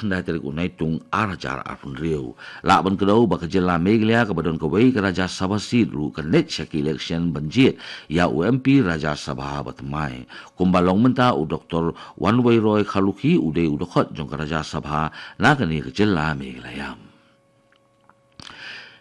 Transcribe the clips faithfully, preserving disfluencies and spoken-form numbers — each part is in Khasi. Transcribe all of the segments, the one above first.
Nai tarik u Naitung ar hajar arphew hynriew. Lah ban kdew ba ka jylla Meghalaya kaba don kawei ka Rajya Sabha seat ruh kan leit sha ki election ban jied ïa u M P Rajya Sabha ba thymmai. Kumba long mynta u Doktor Wanweiroy Kharlukhi u dei u dkhot jong ka Rajya Sabha na kane ka jylla Meghalaya.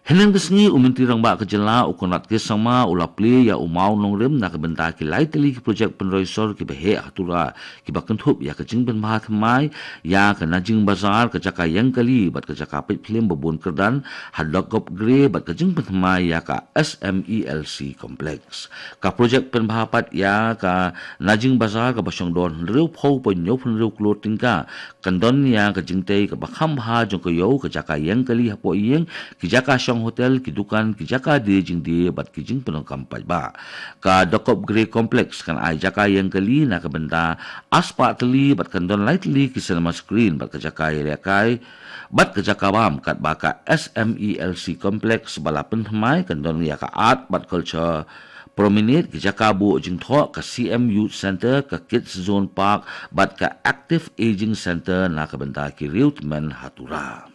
Hynnin ka sngi u Myntri Rangbah ka jylla u Conrad K Sangma u la plie ïa u mawnongrim na ka bynta ki lai tylli ki projek pynroi sor kiba heh ha Tura kiba kynthup ïa ka jingpynbha thymmai ïa ka Najing Bazar, ka jaka ïeng kali bad ka jaka peit phlim ba bun kyrdan ha Dokop Gre bad ka jingpynthymmai ïa ka S M E L C complex. Ka projek pynbha pat ïa ka Najing Bazar kaba shong don hynriewphew point hynñiewphew hynriew klur tyngka kan don ïa ka jingtei kaba kham bha jong ka ïew, ka jaka ïeng kali hapoh ïing, ki jaka shong hotel, ki dukan, ki jaka die jingdie bad ki jingpyndonkam paidbah. Ka Dokop Gre Complex kan ai jaka ïeng kali na ka bynta arspah tylli bad kan don lai tylli ki cinema screen bad ka jaka ïalehkai bad ka jaka bam, katba ka S M E L C Complex ba la pynthymmai kan don ïa ka Art bad Culture Promenade, ki jaka buh jingthoh, ka C M Youth Center, ka Kids Zone Park bad ka Active Aging Center na ka bynta ki riewtymmen ha Tura.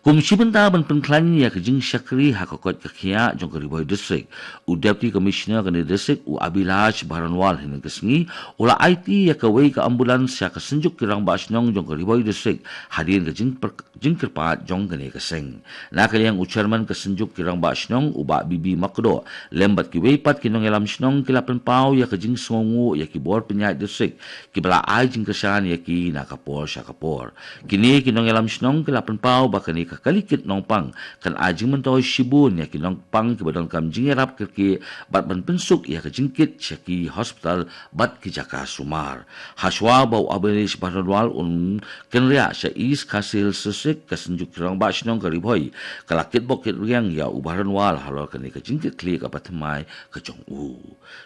Kum shi bynta ban pynkhlaiñ ïa ka jingshakri ha ka koit ka khiah jong ka Ri Bhoi District, u Deputy Commissioner kane district u Abhilash Baranwal hynnin ka sngi u la aiti ïa kawei ka ambulance sha ka Synjuk ki Rangbah Shnong jong ka Ri Bhoi District hadien ka jingper jingkyrpad jong kane ka seng. Na ka liang u Chairman ka Synjuk ki Rangbah Shnong u Bah B B Makdoh lem bad kiwei pat ki nongïalam shnong ki la pynpaw ïa ka jingsngewnguh ïa ki bor pynïaid district kiba la ai jingkyrshan ïa ki na ka por sha ka por. Kine ki nongïalam shnong ki la pynpaw ba kane ka kali kit nongpang kan ai jingmyntoi shibun ïa ki nongpang kiba donkam jingïarap kyrkieh bad ban pynsuk ïa ka jingkit sha ki hospital bad ki jaka sumar. Hashwa ba u Abhilash Baranwal un kynriah sha East Khasi Hills District, ka Synjuk ki Rangbah Shnong ka Ri Bhoi ka la kitbok kitriang ïa u Baranwal halor kane ka jingkitkhlieh kaba thymmai ka jong u.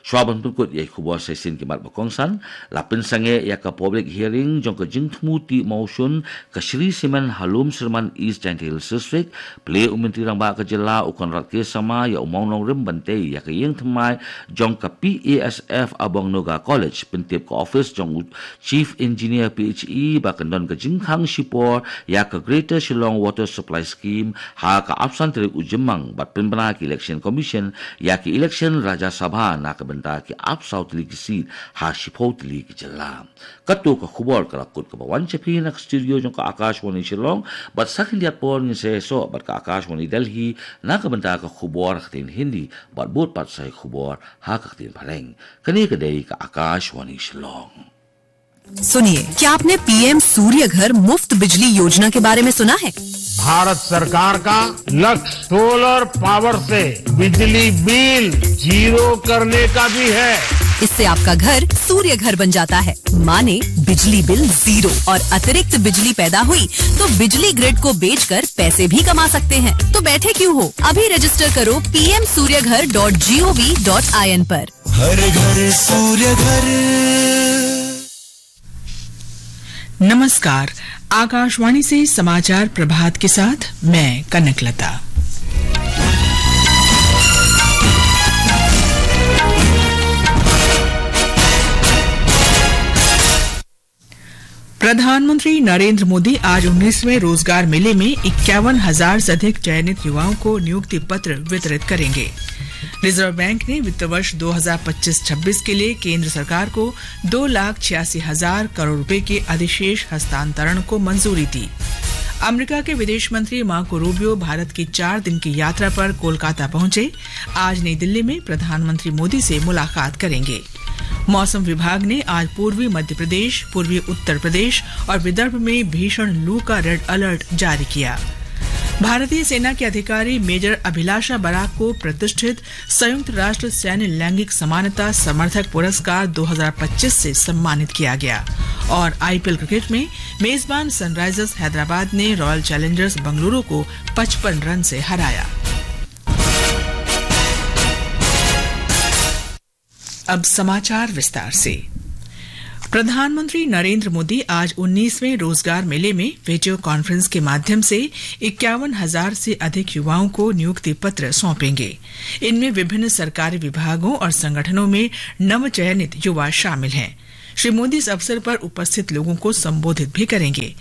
Shwa ban pynkut ïa ki khubor sa shisien ki mat ba kongsan, la pynsangeh ïa ka public hearing jong ka jingthmu tih mawshun ka Shree Cement ha Lumshyrman, East Jaintia Hills District. Plie u Myntri Rangbah ka jylla u Conrad K Sangma ïa u mawnongrim ban tei ïa ka ïing thymmai jong ka P A S F Abong Naga College, pyntip ka office jong u Chief Engineer P H E ba kan don ka jingkhang shipor ïa ka Greater Shillong Water Supply Scheme ha ka arphew san tarik u Jymmang bad pynbna ki Election Commission ïa ki election Rajya Sabha na ka bynta ki arphew saw tylli ki seat ha shiphew tylli ki jylla. Kato ka khubor ka la kut kaba wan sha phi na ka studio jong ka Akashvani Shillong, bad sa khyndiat por ngin sa ïasoh bad ka Akashvani Delhi na ka bynta ka khubor ha ka ktien Hindi bad bud pat sa ïa ka khubor ha ka ktien Phareng. Kane ka dei ka Akashvani Shillong. सुनिए, क्या आपने पीएम सूर्य घर मुफ्त बिजली योजना के बारे में सुना है? भारत सरकार का लक्ष्य सोलर पावर से बिजली बिल जीरो करने का भी है। इससे आपका घर सूर्य घर बन जाता है, माने बिजली बिल जीरो, और अतिरिक्त बिजली पैदा हुई तो बिजली ग्रिड को बेचकर पैसे भी कमा सकते हैं। तो बैठे क्यों हो, अभी रजिस्टर करो P M Suryaghar dot G O V dot I N पर। हर घर सूर्य घर। नमस्कार, आकाशवाणी से समाचार प्रभात के साथ मैं कनकलता। प्रधानमंत्री नरेंद्र मोदी आज उन्नीसवें रोजगार मेले में इक्यावन हजार से अधिक चयनित युवाओं को नियुक्ति पत्र वितरित करेंगे। रिजर्व बैंक ने वित्त वर्ष दो हज़ार पच्चीस छब्बीस के लिए केंद्र सरकार को दो लाख छियासी हजार करोड़ रुपए के अधिशेष हस्तांतरण को मंजूरी दी। अमेरिका के विदेश मंत्री मार्को रूबियो भारत की चार दिन की यात्रा पर कोलकाता पहुंचे। आज नई दिल्ली में प्रधानमंत्री मोदी से मुलाकात करेंगे। मौसम विभाग ने आज पूर्वी मध्य प्रदेश, पूर्वी उत्तर प्रदेश और विदर्भ में भीषण लू का रेड अलर्ट जारी किया। भारतीय सेना के अधिकारी मेजर अभिलाषा बराक को प्रतिष्ठित संयुक्त राष्ट्र सैन्य लैंगिक समानता समर्थक पुरस्कार दो हज़ार पच्चीस से सम्मानित किया गया। और आईपीएल क्रिकेट में मेजबान सनराइजर्स हैदराबाद ने रॉयल चैलेंजर्स बेंगलुरु को पचपन रन से हराया। अब समाचार विस्तार से। प्रधानमंत्री नरेंद्र मोदी आज उन्नीसवें रोजगार मेले में वीडियो कॉन्फ्रेंस के माध्यम से इक्यावन हजार से अधिक युवाओं को नियुक्ति पत्र सौंपेंगे। इनमें विभिन्न सरकारी विभागों और संगठनों में नवचयनित युवा शामिल हैं। श्री मोदी इस अवसर पर उपस्थित लोगों को संबोधित भी करेंगे।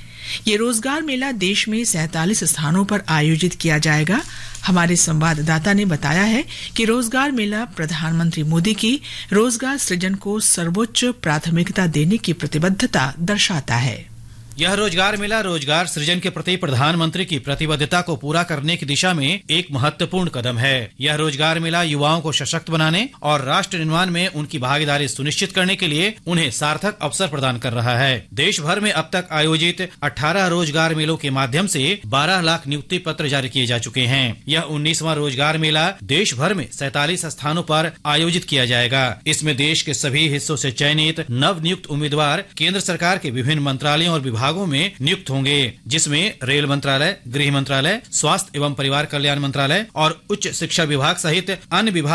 ये रोजगार मेला देश में सैंतालीस स्थानों पर आयोजित किया जाएगा। हमारे संवाददाता ने बताया है कि रोजगार मेला प्रधानमंत्री मोदी की रोजगार सृजन को सर्वोच्च प्राथमिकता देने की प्रतिबद्धता दर्शाता है। यह रोजगार मेला रोजगार सृजन के प्रति प्रधानमंत्री की प्रतिबद्धता को पूरा करने की दिशा में एक महत्वपूर्ण कदम है। यह रोजगार मेला युवाओं को सशक्त बनाने और राष्ट्र निर्माण में उनकी भागीदारी सुनिश्चित करने के लिए उन्हें सार्थक अवसर प्रदान कर रहा है। देश भर में अब तक आयोजित अठारह रोजगार मेलों के माध्यम से बारह लाख नियुक्ति पत्र जारी किए जा चुके हैं। यह उन्नीसवाँ रोजगार मेला देश भर में सैंतालीस स्थानों पर आयोजित किया जाएगा। इसमें देश के सभी हिस्सों से चयनित नव नियुक्त उम्मीदवार केंद्र सरकार के विभिन्न मंत्रालयों और विभागों में नियुक्त होंगे, जिसमें रेल मंत्रालय, गृह मंत्रालय, स्वास्थ्य एवं परिवार कल्याण मंत्रालय और उच्च शिक्षा विभाग सहित अन्य विभाग